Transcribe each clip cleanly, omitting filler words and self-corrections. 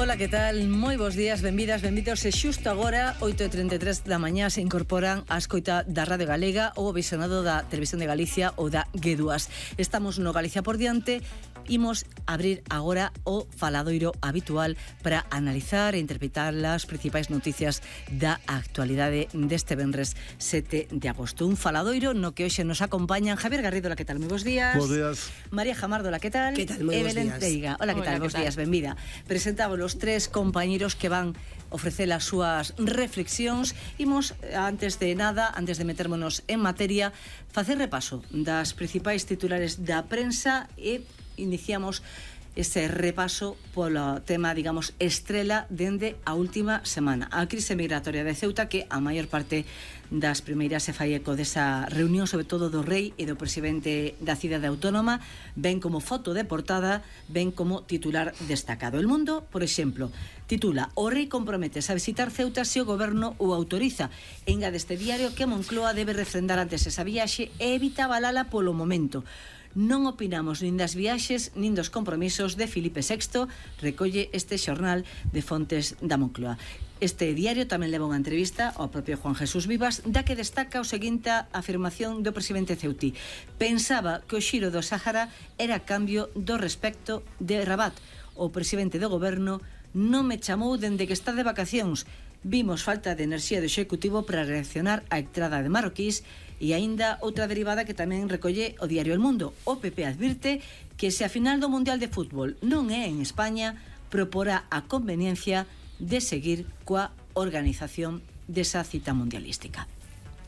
Ola, que tal? Moi bons días, benvidas, benvidos. E xusto agora, 8:33 da mañá, se incorporan a escoita da Radio Galega ou o visionado da Televisión de Galicia ou da G2. Estamos no Galicia por diante. Imos abrir agora o faladoiro habitual para analizar e interpretar as principais noticias da actualidade deste venres 7 de agosto. Un faladoiro no que hoxe nos acompañan Javier Garrido, la que tal? Moi bons días. Bos días. María Jamardo, la que tal? Que tal? Moi bons días. Teiga. Hola, que tal? Bos días, benvida. Presentamos os tres compañeros que van ofrecer as súas reflexións. Imos, antes de nada, antes de metermonos en materia, facer repaso das principais titulares da prensa e iniciamos ese repaso polo tema, digamos, estrela dende a última semana. A crise migratoria de Ceuta, que a maior parte das primeiras se fai eco desa reunión, sobre todo do rei e do presidente da cidade autónoma, ven como foto de portada, ven como titular destacado. El Mundo, por exemplo, titula: O rei comprometes a visitar Ceuta se o goberno o autoriza. Engade este diario que Moncloa debe refrendar antes esa viaxe e evita avalala polo momento. Non opinamos nin das viaxes nin dos compromisos de Filipe VI, recolle este xornal de fontes da Moncloa. Este diario tamén leva unha entrevista ao propio Juan Jesús Vivas, da que destaca o seguinte afirmación do presidente ceutí: pensaba que o xiro do Sáhara era cambio do respecto de Rabat. O presidente do goberno non me chamou dende que está de vacacións. Vimos falta de enerxía do executivo para reaccionar á entrada de marroquís. E aínda outra derivada que tamén recolle o diario El Mundo. O PP advirte que se a final do Mundial de Fútbol non é en España, proporá a conveniencia de seguir coa organización desa cita mundialística.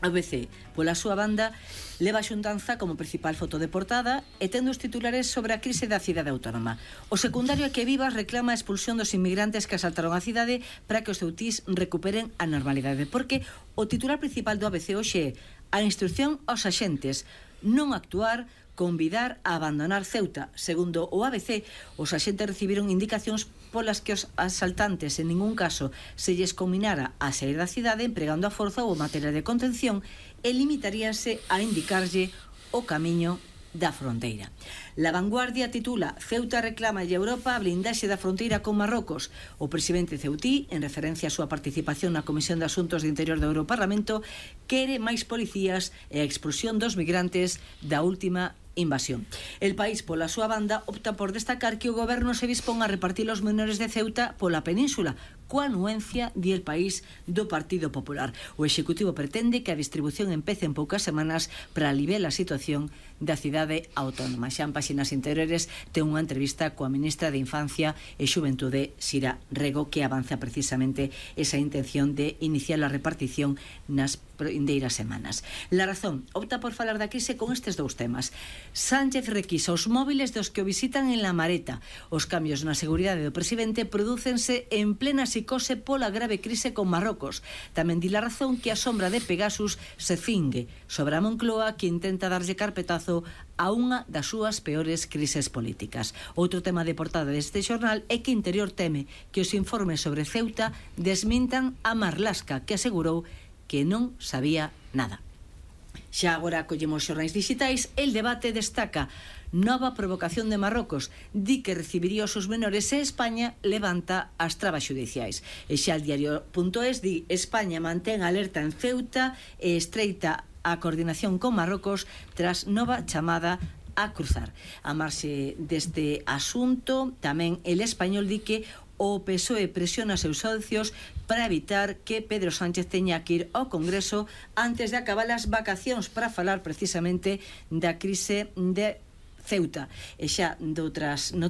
A ABC, pola súa banda, leva a xuntanza como principal foto de portada e tendo os titulares sobre a crise da cidade autónoma. O secundario é que Vivas reclama a expulsión dos inmigrantes que asaltaron a cidade para que os ceutís recuperen a normalidade, porque o titular principal do ABC hoxe é: a instrucción aos axentes, non actuar, convidar a abandonar Ceuta. Segundo o ABC, os axentes recibiron indicacións polas que os asaltantes en ningún caso se lles combinara a sair da cidade empregando a forza ou materia de contención e limitaríanse a indicarlle o camiño da fronteira. La Vanguardia titula: Ceuta reclama a Europa a blindaxe da fronteira con Marrocos. O presidente ceutí, en referencia á súa participación na Comisión de Asuntos de Interior do Europarlamento, quere máis policías e a expulsión dos migrantes da última invasión. El País, pola súa banda, opta por destacar que o goberno se dispón a repartir os menores de Ceuta pola península, coa anuencia, di El País, do Partido Popular. O Executivo pretende que a distribución empece en poucas semanas para aliviar a situación da cidade autónoma. Xa en páxinas interiores ten unha entrevista coa ministra de Infancia e Xuventude, Sira Rego, que avanza precisamente esa intención de iniciar a repartición nas indeiras semanas. La Razón opta por falar da crise con estes dous temas. Sánchez requisa os móviles dos que o visitan en La Mareta. Os cambios na seguridade do presidente prodúcense en plena psicose pola grave crise con Marrocos. Tamén di La Razón que a sombra de Pegasus se cingue sobre a Moncloa, que intenta darlle carpetazo a unha das súas peores crises políticas. Outro tema de portada deste xornal é que Interior teme que os informes sobre Ceuta desmintan a Marlaska, que asegurou que non sabía nada. Xa agora collemos xornais digitais. El Debate destaca: nova provocación de Marrocos, di que recibiría os seus menores e España levanta as trabas xudiciais. E xa el diario.es di: España mantén alerta en Ceuta e estreita a coordinación con Marrocos tras nova chamada a cruzar. A marxe deste asunto, tamén El Español di que o PSOE presiona seus socios para evitar que Pedro Sánchez teña que ir ao Congreso antes de acabar as vacacións para falar precisamente da crise de Ceuta. E xa doutras noticias.